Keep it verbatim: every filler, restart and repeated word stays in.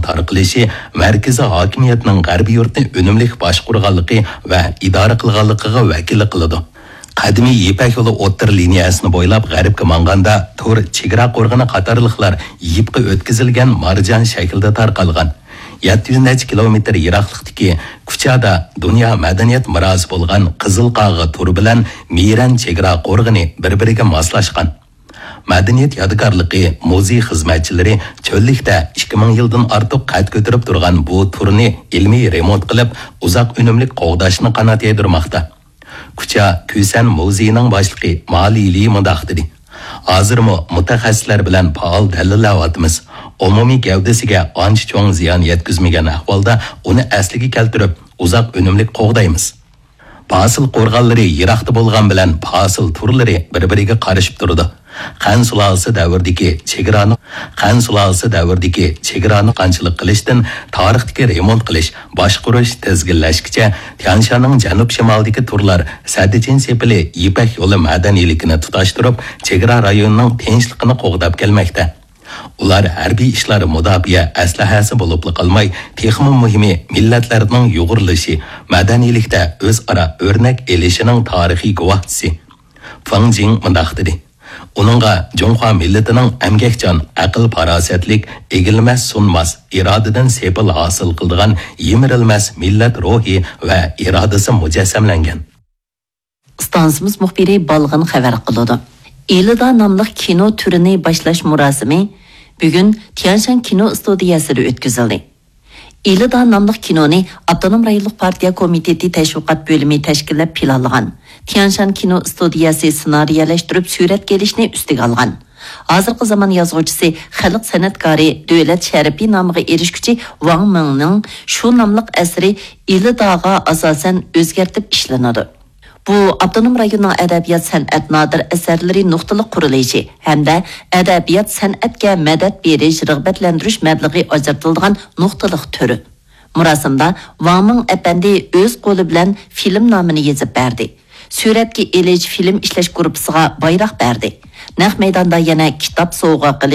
تارقىلىشى مەركىزىي ھاكىمىيەتنىڭ غەربىي يۇرتنى ئۈنۈملۈك باشقۇرغانلىقى ۋە ئىدارە قىلغانلىقىغا ۋەكىللىك قىلىدۇ. قەدىمىي يىپەك يولى ئوتتۇرا لىنىيەسىنى بويلاپ غەربكە ماڭغاندا، تۇر، چېگرا قورغىنى قاتارلىقلار يىپقا ئۆتكۈزۈلگەن مارجان شەكلىدە تارقالغان. يەتتە يۈز نەچچە كىلومېتىر يىراقلىقتىكى كۇچادا دۇنيا مەدەنىيەت مىراسى بولغان قىزىل قاغا تۇر بىلەن مىرەن چېگرا قورغىنى بىر-بىرىگە ماسلاشقان. مەدەنىيەت يادىكارلىقى مۇزېي خىزمەتچىلىرى چۆللۈكتە ئىككى مىڭ يىلدىن ئارتۇق قەد كۆتۈرۈپ تۇرغان بۇ تۇرنى ئىلمىي رېمونت قىلىپ، ئۇزاق ئۈنۈملۈك قوغداشنى قانات يايدۇرماقتا. كۇچا كۈسەن مۇزېيىنىڭ باشلىقى ما لىلى مۇنداق دېدى: «ھازىرمۇ مۇتەخەسسىسلەر بىلەن پائال دەلىللەۋاتىمىز. ئومۇمىي گەۋدىسىگە ئانچە چوڭ زىيان يەتكۈزمىگەن ئەھۋالدا ئۇنى ئەسلىگە كەلتۈرۈپ، ئۇزاق ئۈنۈملۈك قوغدايمىز.» پاسىل قورغانلىرى يىراقتا بولغان بىلەن پاسىل تۇرلىرى بىر-بىرىگە قارىشىپ تۇرىدۇ. خەن سۇلالىسى دەۋرىدىكى چېگرانى، خەن سۇلالىسى دەۋرىدىكى چېگرانى قانچىلىق قىلىشتىن تارىختىكى رېمونت قىلىش، باشقۇرۇش، تىزگىنلەشكىچە تيانشاننىڭ جەنۇب-شىمالىدىكى تۇرلار سەددىچىن سېپىلى يىپەك يولى مەدەنىيلىكىنى تۇتاشتۇرۇپ، چېگرا رايونىنىڭ تىنچلىقىنى قوغداپ كەلمەكتە. ئۇلار ھەربىي ئىشلار مۇداپىئە ئەسلىھەسى بولۇپلا قالماي، تېخىمۇ مۇھىمى مىللەتلەرنىڭ يۇغۇرۇلۇشى، مەدەنىيلىكتە ئۆزئارا ئۆرنەك ئېلىشىنىڭ تارىخىي گۇۋاھچىسى. فېڭ جىڭ مۇنداق دېدى: «ئۇنىڭغا جۇڭخۇا مىللىتىنىڭ ئەمگەكچان، ئەقىل-پاراسەتلىك، ئېگىلمەس-سۇنماس، ئىرادىدىن سېپىل ھاسىل قىلىدىغان يىمىرىلمەس مىللەت روھى ۋە ئىرادىسى مۇجەسسەملەنگەن.» ئىستانسىمىز مۇخبىرى بالغىن خەۋەر قىلىدۇ. ئىلىدا ناملىق كىنو تۈرىنى باشلاش مۇراسىمى بۈگۈن تيانشان كىنو ئىستۇدىيەسىدە ئۆتكۈزۈلدى. ئىلىدا ناملىق كىنونى ئاپتونوم رايونلۇق پارتىيە كومىتېتى تەشۋىقات بۆلۈمى تەشكىللەپ پىلانلىغان. تيانشان كىنو ئىستۇدىيەسى سېنارىيەلەشتۈرۈپ سۈرەتكە ئېلىشنى ئۈستىگە ئالغان. ھازىرقى زامان يازغۇچىسى، خەلق سەنئەتكارى، دۆلەت شەرىپى نامىغا ئېرىشكۈچى ۋاڭ مىڭنىڭ شۇ ناملىق ئەسىرى ئىلىداغا ئاساسەن ئۆزگەرتىپ ئىشلىنىدۇ. بۇ ئاپتونوم رايوننىڭ ئەدەبىيات-سەنئەت نادىر ئەسەرلىرى نۇقتىلىق قۇرۇلۇشى ھەمدە ئەدەبىيات-سەنئەتكە مەدەت بېرىش، رىغبەتلەندۈرۈش مەبلىغى ئاجرىتىلىدىغان نۇقتىلىق تۈر. مۇراسىمدا ۋاڭ مىڭ ئەپەندى ئۆز قولى بىلەن فىلىم نامىنى يېزىپ بەردى. سۈرەتكە ئېلىش، فىلىم ئىشلەش گۇرۇپپىسىغا بايراق بەردى. نەق مەيداندا يەنە كىتاب سوۋغا قىلىش،